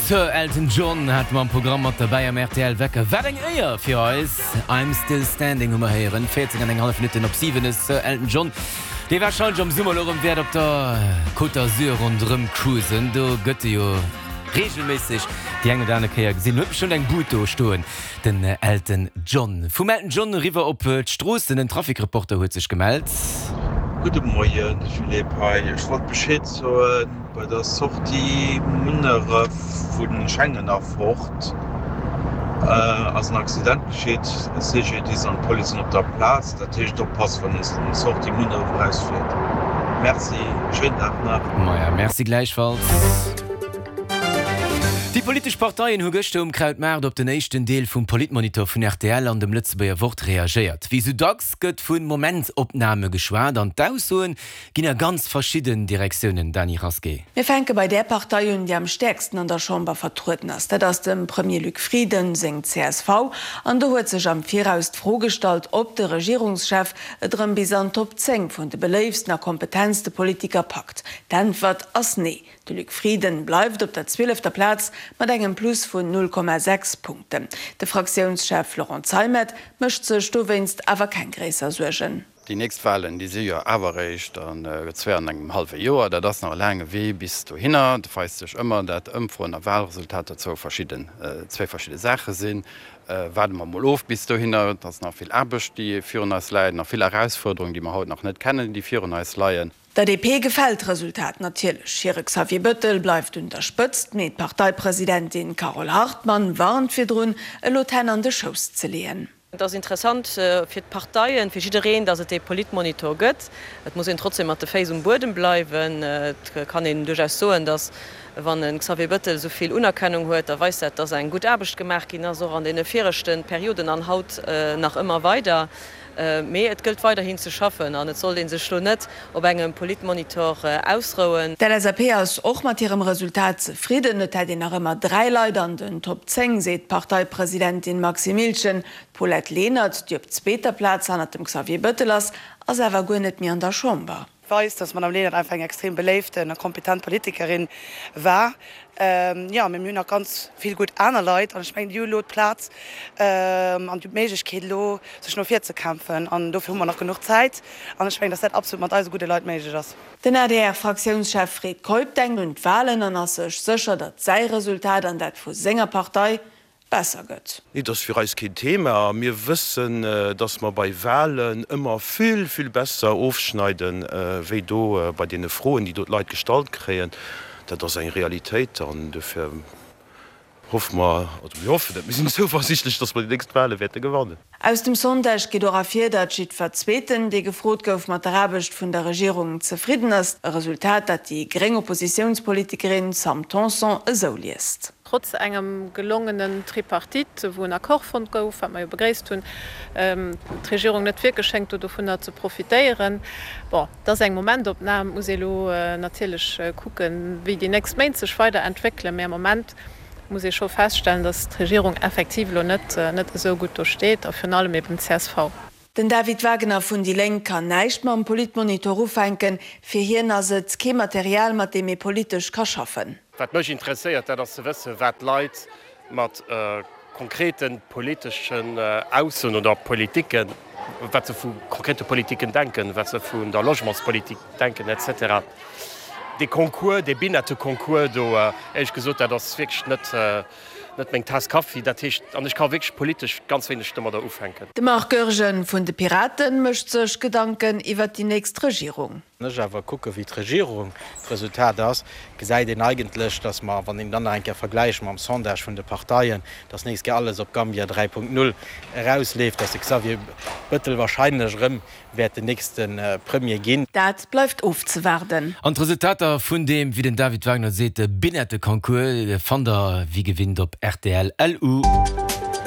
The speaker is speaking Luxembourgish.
Sir Elton John hate mer am Programm mat derbäi am rtl Wecker. Wat eng Éier fir eis! I'm Still Standing hu mer héieren. 14 an eng hallef Minutten op 7. De Sir Elton John, dee warscheinlech am Summer elo erëm wäert op der Côte d'Azur ronderëm cruisen. Do gëtt e jo reegelméisseg déi eng oder aner Kéier gesinn. Huet bestëmmt eng Bud do stoen, den Elton John. Vum Elton John eriwwer op d'Stroossen. En Trafikreporter huet sech gemellt. Gudde Moien, de Philippe hei. Ech wollt Bescheed soen, bei der Sortie Munneref vu Schengen erfort ass en Accident geschitt. CGDIS an d'Police sinn op der Plaz. Dat heescht oppassen, wann een Sortie Munneref erausfiert. Merci, schéinen Dag nach. Maja, merci gläichfalls. Déi politesch Parteien hu gëschter um Krautmaart op den éischten Deel vum Politmonitor vun rtl an dem Lëtzebuerger Wort reagéiert. Wéi sou dacks gëtt vu Momentopname geschwat an d'Aussoen ginn a ganz verschidden Direktiounen. Dany Rasqué. Mir fänke bei där Partei un, déi am stäerksten an der Chamber vertrueden ass. Dat ass dem Premier Luc Frieden seng csv. An do huet sech am Viraus d'Fro gestallt, ob de Regierungschef et erëm bis an d'Top 10 vun de beléiftsten a kompetentste Politiker packt. D'Äntwert ass nee. De Luc Frieden bleift op der zwielefter Plaz mat engem Plus vun 0,6 Punkten. De Fraktiounschef Laurent Zeimet mécht sech dowéinst awer keng gréisser Suergen. Déi nächst Wahlen, déi si jo awer eréischt an zwee an engem hallwe Joer. Dat ass nach e laange Wee bis dohinner. Et weist sech ëmmer, dat Ëmfroen a Wahlresultater zwou verschidden, zwéi verschidde Saache sinn. Waarde mer emol of bis dohinner. Et ass nach vill Aarbecht, déi virun eis läit, nach vill Erausfuerderungen, déi mer haut nach net kennen, déi virun eis leien. Der DP gefält d'Resultat natierlech. Hire Xavier Bëttel bleift un der Spëtzt, mee d'Parteipresidentin Carole Hartmann warnt virdrun, elo d'Hänn an de Schouss ze leeën. Et ass interessant fir d'Parteien, fir jiddereen, datt et dee Politmonitor gëtt. Et muss een trotzdem mat de Féiss um Buedem bleiwen. Et kann een duerchaus soen, datt wann e Xavier Bëttel esou vill Unerkennung huet, da weist dat, datt eng gutt Aarbecht gemaach ginn ass, och an deene viregte Perioden an haut nach ëmmer weider. Mee et gëllt weiderhin ze schaffen an et sollt ee sech lo net op engem Politmonitor ausrouen. D'LSAP ass och mat hirem Resultat zefridden. Et hätt een nach ëmmer 3 Leit an den Top 10, seet d'Parteipresidentin Maxime Miltgen. D'Paulette Lenert, déi op zweeter Plaz hannert dem Xavier Bëttel ass, ass awer guer net méi an der Chamber. Weist, dass d'Madame Lenert einfach eng extrem beléiften a kompetent Politikerin war. Jo, mee mir hunn nach ganz vill gutt aner Leit an ech mengen, déi hu elo d'Plaz an d'Méiglechkeet elo sech no vir ze kämpfen an dofir hu mer nach genuch Zäit an ech mengen, dass dat absolut mat eise gudde Leit méiglech ass. Den ADR-Fraktiounschef Fred Keup denkt un d'Walen an ass sech sécher, datt säi Resultat an dat vu senger Partei besser gëtt. Nee, dat ass fir eis keen Thema. Mir wëssen, dass mer bei Wahlen ëmmer vill, vill besser ofschneiden, wéi do bei deene Froen, déi do d'Leit gestallt kréien. Dat ass eng Realitéit an dofir hoffe mer, also mir hoffen net, mir sinn zouversichtlech, dass mer déi nächst Wahle wäerte gewannen. Aus dem Sondage geet och ervir, datt jiddwer Zweeten, dee gefrot gouf, mat der Aarbecht vun der Regierung zefridden ass. E Resultat, dat déi gréng Oppositiounspolitikerin Sam Tanson esou liest. Trotz engem gelongenen Tripartite, wou en Accord fonnt gouf, wat mer jo begréisst hunn, d'Regierung net wierklech schéngt do dovunner ze profitéieren. Bon, et ass eng Momentopnam, et muss ee elo natierlech kucken, wéi déi nächst Méint sech weider entwéckelen, mä am Moment muss ee scho feststellen, datt d'Regierung effektiv elo net net esou gutt do steet a virun allem eben d'CSV. Den David Wagner vun déi Lénk kann näischt mam Politmonitor ufänken. Fir hien ass et kee Material, mat deem ee politesch ka schaffen. Wat mech interesséiert, dat ass ze wëssen, wat d'Leit mat konkrete politeschen Aussoen oder Politiken, wat se vu konkrete Politiken denken, wat se vun der Logementspolitik denken, et cetera. Dee Concours, dee Binette-Concours do, éierlech gesot, dat ass wierklech net, net meng Taass Kaffi. Dat heescht, an ech ka wierklech politesch ganz wéineg domadder ufänken. De Marc Goergen vun de Piraten mécht sech Gedanken iwwert déi nächst Regierung. Wann ech awer kucke wéi d'Regierung d'Resultat ass, gesäit een eigentlech, datt mer, wann een dann nach eng Kéier vergläicht mam Sondage vun de Parteien, datt nächst Kéier alles op Gambia 3.0 erausleeft, datt de Xavier Bëttel wahrscheinlech erëm wäert den nächste Premier ginn. Dat bleift ofzewaarden. An d'Resultater vun deem, wéi den David Wagner seet, Binette-Concours fannt der wéi gewinnt op rtl. LU.